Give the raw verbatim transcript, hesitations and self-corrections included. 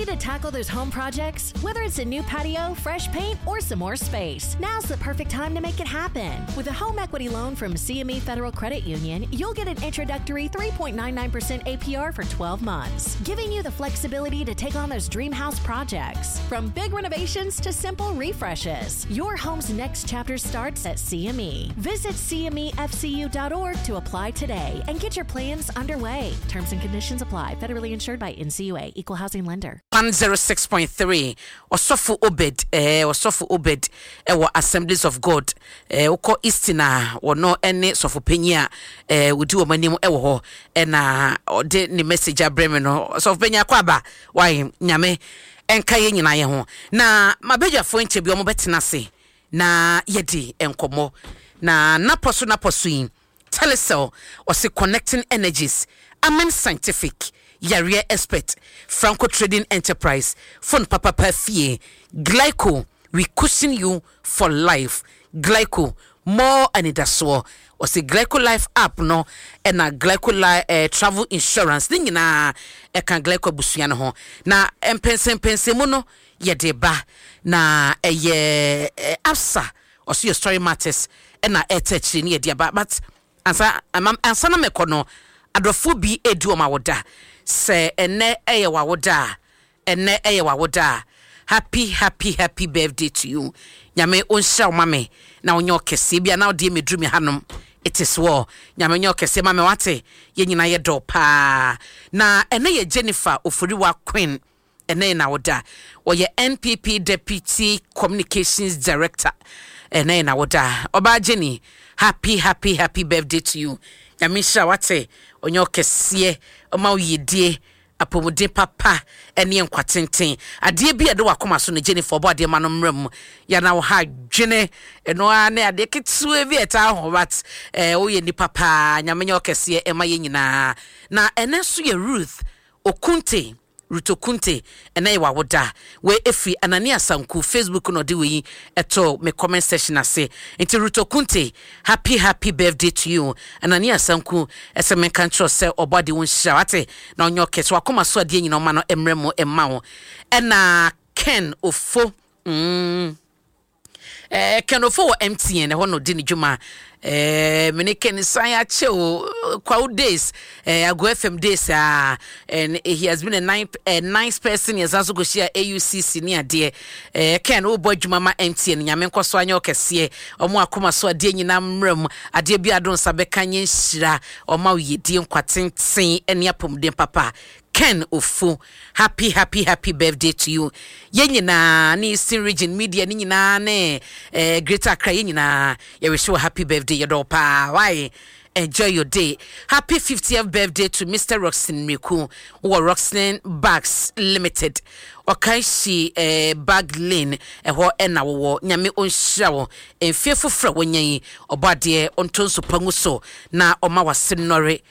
Ready to tackle those home projects? Whether it's a new patio, fresh paint, or some more space, now's the perfect time to make it happen. With a home equity loan from C M E Federal Credit Union, you'll get an introductory three point nine nine percent A P R for twelve months, giving you the flexibility to take on those dream house projects. From big renovations to simple refreshes, your home's next chapter starts at C M E. Visit C M E F C U dot org to apply today and get your plans underway. Terms and conditions apply. Federally insured by N C U A, Equal Housing Lender. one oh six point three. Ɔsɔfo Obed, eh, Ɔsɔfo Obed ɛwɔ Assemblies of God, eh, wokɔ Eastern a, wɔno ne sɔfo panyin a eh, wɔdi wɔn anim ɛwɔ hɔ, ɛna ɔde ne message abrɛ me no. Ɔsɔfo panyin akɔ aba wae, Nyame ɛnka yɛn nyinaa yɛ ho. Na mabadwafoɔ nkyɛ bi wɔn bɛtena ase na yɛdi nkɔmmɔ na napɔ so napɔ so yi. Telecel ɔse connecting energies, Amen Scientific, yareɛ expert, Franco Trading Enterprise, phone papapa fie, Glyco, we cushion you for life. Glyco more anidasoɔ, ɔsɛ Glyco Life app no ɛna Glyco Life eh, travel insurance ne nyinaa ɛka Glyco abusua no ho. Na mpɛnsɛmpɛnsɛmu no yɛde ba na ɛyɛ eh, Absa ɔso yɛ Story Matters ɛna ɛtɛ akyire ne yɛde aba. But ansa ansa na mɛkɔ no, adɔfoɔ bi edi wɔn awoda sɛ ɛnɛ ɛyɛ wawoda a, ɛnɛ ɛyɛ wawoda a, happy, happy, happy birthday to you. Nyame ɔnhyira wo ma me na ɔnyɛ ɔkɛseɛ bi a na ɔdeɛ mɛduru me hanom. It is well. Nyame nyɛ ɔkɛseɛ ma me wate. Yɛn nyinaa yɛ dɔ paa. Na ɛnɛ yɛ Jennifer Oforiwa Queen, ɛnɛ yɛ n'awoda. Ɔyɛ N P P deputy communications director. Ɛnɛ yɛ n'awoda. Ɔbaa Jenny, happy, happy, happy birthday to you. Nyame nhyira wate, ɔnyɛ ɔkɛseɛ, ɔma wo yiedie, apɔmuden papa ne nkwa tenten. Adeɛ bi a ɛde wakoma so no, Jennifer, ɔbɔ adeɛ ma no mmerɛ mu yɛna wo ha dwene ɛno ara ne adeɛ ketewa bi a ɛtaa ho, but ɛɛ woyɛ nipa paa. Nyame nyɛ ɔkɛseɛ ɛma yɛn nyinaa. Na ɛnɛ nso yɛ Ruth Okunte, Ruth Okunte, ɛnɛ yɛ wawoda. Wei efiri Anani Asanku Facebook na ɔde wei ɛtɔ me comment section ase. Nti Ruth Okunte, happy, happy birthday to you. Anani Asanku ɛsɛ menka nkyerɛ sɛ ɔbɔ ade wo nhyira wate na ɔnyɛ ɔkɛse, wakoma so adeɛ nyina ɔma no mmerɛ mu ɛma wo. Ɛna Ken Ofo mm. eh, Ken Ofo wɔ M T N ɛhɔ na ɔdi ne dwuma. eh, mene Ken san akyɛ o, Kwawu days, eh, Ago F M days ah, and he has been a nice, a nice person. Yɛsan so kɔhyia A U C C ne adeɛ. eh, Ken, wobɔ adwuma ma M T N. Nyame nkɔ so anyɛ ɔkɛseɛ, ɔmo akoma so adeɛ nyinaa mmerɛ mu, adeɛ bi ado nsa bɛka nyɛ nhyira, ɔma wo yɛdie, nkwa tenten ne apɔmuden papa. Ken Ofu, happy, happy, happy birthday to you. Yɛn nyinaa ne Eastern Region media ne nyinaa ne eh, Greater Accra, yɛn nyinaa yɛrehyɛ wɔ happy birthday. Yɛdɔ paa. Why, enjoy your day. Happy fiftieth birthday to Mister Roxin Miku wɔ Roxin Bags Limited, Ɔkanhyi eh, Bag Lane ɛhɔ ɛna wɔwɔ. Nyame ɔnhyira wɔ mfie foforɔ a wɔnya yi. Ɔbɔ adeɛ ɔnto nso pa ngu so na ɔma wase nnɔre.